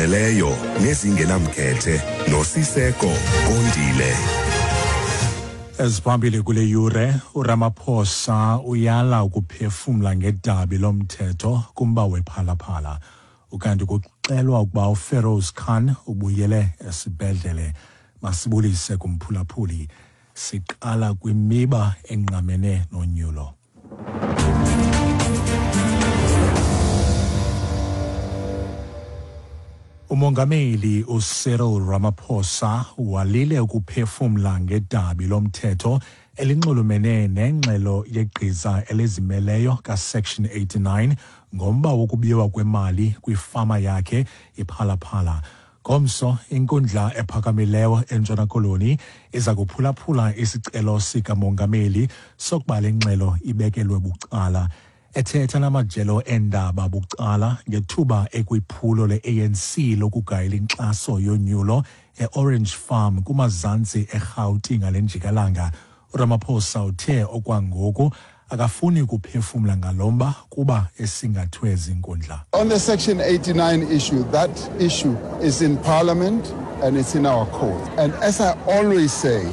Ezizimeleyo nezingenamkhethe noSiseko Kondile. Eziphambili kule yure, uRamaphosa uyala ukuphefumla ngedabi lomthetho kumba wephalaphala. Ukanti kuxelwa ukuba uFeroz Khan ubuyele esibhedlele. Masibulise kumphulaphuli. Siqala kwimiba engqamene nonyulo. Umongameli uCyril Ramaphosa walile ukuphefumla ngedabi lomthetho elinxulumene nengxelo yegqiza elizimeleyo kaSection 89 ngomba wokubiwa kwemali kwifama yakhe iPhalaphala. Ngomso, inkundla ephakamileyo eNtshona Koloni iza kuphulaphula isicelo sikamongameli sokuba le ngxelo ibekelwe bucala. Ethetha namajelo eendaba bucala ngethuba ekwiphulo le-ANC lokugayela inkxaso yonyulo e-Orange Farm kumazantsi eRhawuti ngale njikalanga, uRamaphosa uthe okwangoku akafuni ukuphefumla ngalo mba kuba esingathwe zinkundla. On the Section 89 issue, that issue is in Parliament and it's in our court. And as I always say,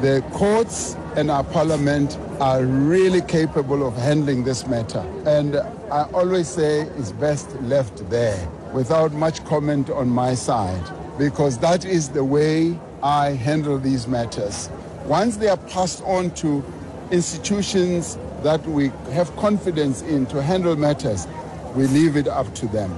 the courts and our parliament are really capable of handling this matter. And I always say it's best left there without much comment on my side, because that is the way I handle these matters. Once they are passed on to institutions that we have confidence in to handle matters, we leave it up to them.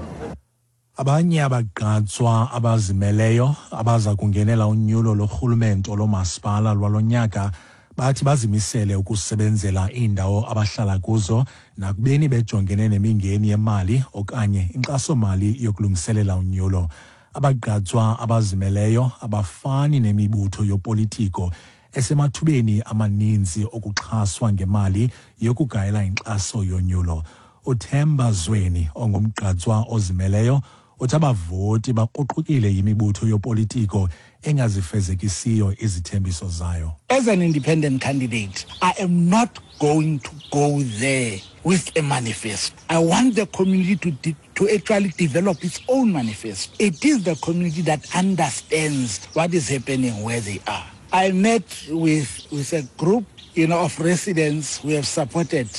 Abanye abagqatswa abazimeleyo abaza kungenela unyulo lorhulumento lomasipala lwalonyaka bathi bazimisele ukusebenzela iindawo abahlala kuzo nakubeni bejongene nemingeni yemali okanye inkxasomali yokulungiselela unyulo. Abagqatswa abazimeleyo abafani nemibutho yopolitiko esemathubeni amaninzi okuxhaswa ngemali yokugayela inkxaso yonyulo. UThemba Zweni ongumgqatswa ozimeleyo uthi abavoti bakruqukile yimibutho yopolitiko engazifezekisiyo izithembiso zayo. As an independent candidate, I am not going to go there with a manifesto. I want the community to actually develop its own manifesto. It is the community that understands what is happening where they are. I met with a group of residents who have supported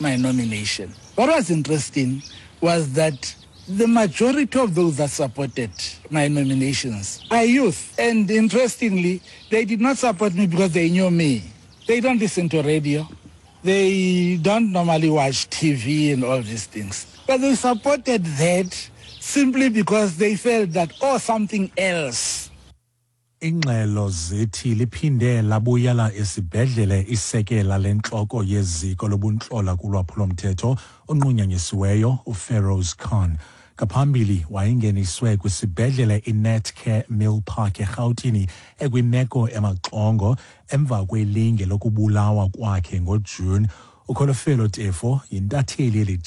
my nomination. What was interesting was that the majority of those that supported my nominations are youth. And interestingly, they did not support me because they knew me. They don't listen to radio. They don't normally watch TV and all these things. But they supported that simply because they felt that, oh, something else. Ingxelo zithi liphinde labuyela esibhedlele isekela lentloko yeziko lobuntlola kulwaphulomthetho onqunyanyisiweyo uFeroz Khan. Ngaphambili wayengeniswe kwisibhedlele iNetcare Mill Park eRhawutini ekwimeko emaxongo emva kwelinge lokubulawa kwakhe ngoJune. Ukholofelo Tefo yintatheli yeli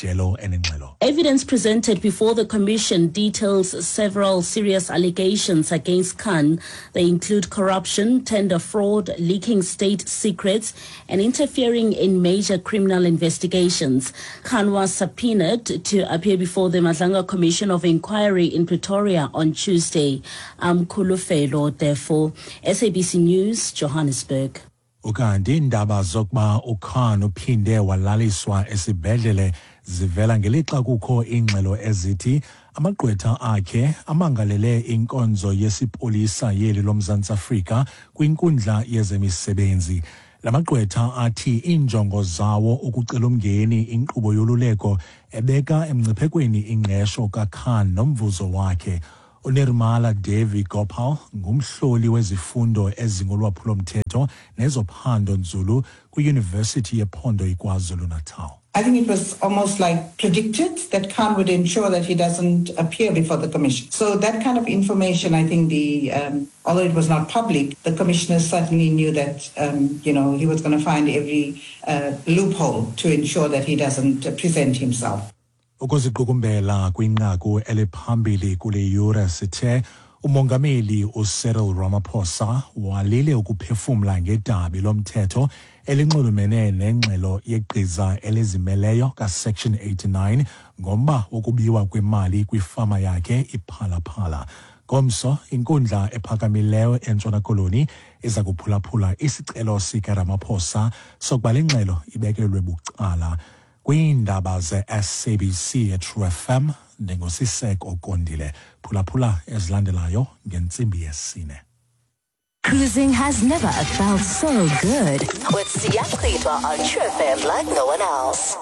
enengxelo. Evidence presented before the commission details several serious allegations against Khan. They include corruption, tender fraud, leaking state secrets, and interfering in major criminal investigations. Khan was subpoenaed to appear before the Madlanga Commission of Inquiry in Pretoria on Tuesday. I'm Kulufelo Tefo, SABC News, Johannesburg. Ukanti iindaba zokuba uKhan uphinde walaliswa esibhedlele zivela ngelixa kukho iingxelo ezithi amagqwetha akhe amangalele inkonzo yesipolisa yeli loMzantsi Afrika kwinkundla yezemisebenzi. La magqwetha athi iinjongo zawo ukucela umngeni inkqubo yoluleko ebeka emngciphekweni ingqesho kaKhan nomvuzo wakhe. uNirmala Devi Gopal ngumhloli wezifundo ezingolwaphulomthetho nezophando nzulu kwiYunivesithi yePhondo iKwaZulu-Natal. I think it was almost like predicted that Khan would ensure that he doesn't appear before the commission. So that kind of information, I think although it was not public, the commissioner certainly knew that he was going to find every loophole to ensure that he doesn't present himself. Ukuziqukumbela kwinqaku eliphambili kule yure sithe Umongameli uCyril Ramaphosa walile ukuphefumla ngedabi lomthetho elinxulumene nengxelo yegqiza elizimeleyo kaSection 89 ngomba wokubiwa kwemali kwifama yakhe iPhalaphala. Ngomso, inkundla ephakamileyo eNtshona Koloni iza kuphulaphula isicelo sikaRamaphosa sokuba le ngxelo ibekelwe bucala. Kwiindaba ze-SABC eTrue FM, ndinguSiseko Kondile. Phulaphula ezilandelayo ngentsimbi yesine. Cruising has never felt so good. With Siyachitwa on True FM like no one else.